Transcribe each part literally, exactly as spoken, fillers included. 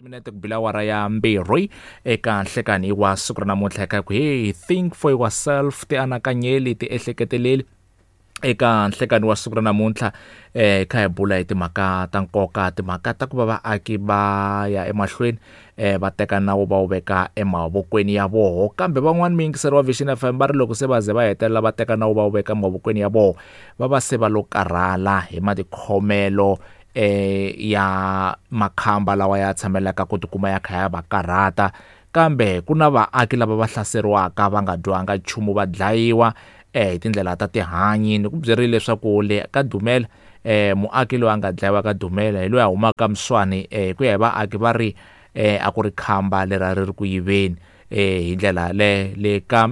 Timinete ku bila awara ya mbirhi eka nhlekani wa siku ra namuntlha eka ku hey, think for yourself, ti anakanyeli, ti ehleketeleli. Eka nhlekani wa siku ra namuntlha eh kha hi bula hi timhaka ta nkoka, timhaka ta ku va vaaki va ya emahlweni eh va teka nawu va wu veka emavokweni ya voho. Kambe van'wani muyingiseri wa Vision F M va ri loko se va ze va hetelela va teka nawu va wu veka emavokweni ya voho, va va se va lo karhala hi matikhomelo eh ya makhamba lawa ya tshamelaka ku tikuma ya kha ya va karhata. Kambe ku na vaaki lava va hlaseriwaka va nga dywanga nchumu, va dlayiwa eh hi tindlela ta tihanyi. Ni ku byerile leswaku le ka Dumela eh muaki loyi a nga dlayiwa ka Dumela hi loyi a humaka Mswani, eh ku ya hi vaaki va ri eh a ku ri khamba leri a ri ri ku yiveni eh hi ndlela le le ka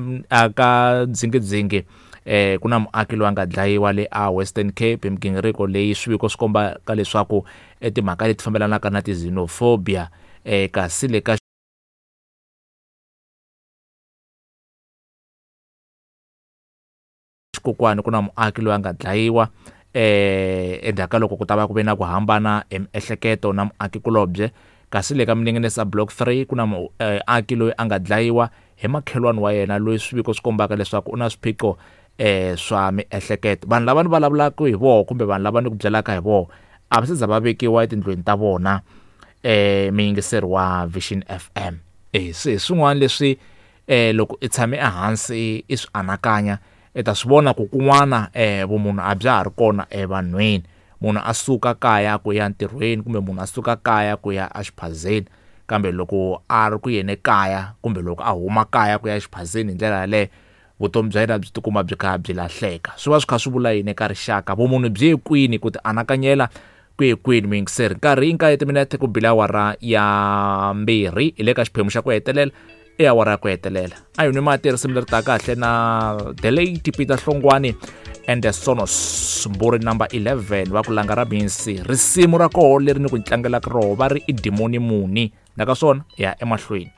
ka Dzingidzingi. Eh ku na muaki loyi a nga dlayiwa le a Western Cape hi migingiriko leyi swiviko swi kombaka leswaku timhaka leti fambelanaka na ti-xenophobia. Eh kasi le ka Xikokwani ku na muaki loyi a nga dlayiwa eh endzhaku ka loko ku ta va ku ve na ku hambana hi miehleketo na muakikulobye. Kasi le ka Minengenesa Block three ku na muaki loyi a nga dlayiwa hi makhelwani wa yena loyi swiviko swi kombaka leswaku u na swiphiqo eh swa miehleketo. Vanhu lava ni vulavulaka hi voho kumbe vanhu lava ni ku byelaka hi voho a va se za va vekiwa etindlwini ta vona eh muyingiseri wa Vision F M. Eh se swin'wana leswi eh loko i tshame ehansi i swi anakanya i ta swi vona ku kun'wana eh vumunhu a bya ha ri kona evanhwini. Munhu a suka kaya ku ya ntirhweni kumbe munhu a suka kaya ku ya exiphazeni, kambe loko a ri ku yena kaya kumbe loko a huma kaya ku ya exiphazeni hi ndlela yaleyo vutomi bya yena byi tikuma byi kha byi lahleka. Swi va swi kha swi vula yini eka rixaka? Vumunhu byi ye kwini? Ku ti anakanyela ku ye kwini? Muyingiseri, nkarhi i nkaye timinete ku bila awara ya mbirhi hi le ka xiphemu xa ku hetelela, i awara ya ku hetelela. A hi nwi mati risimu leri taka kahle na the late Peter Hlongwane and the Sonos, mburi number eleven va ku langa ra misi. Risimu ra koho leri ni ku tlangelaka roho va ri i dimoni muni, na ka swona ya emahlweni.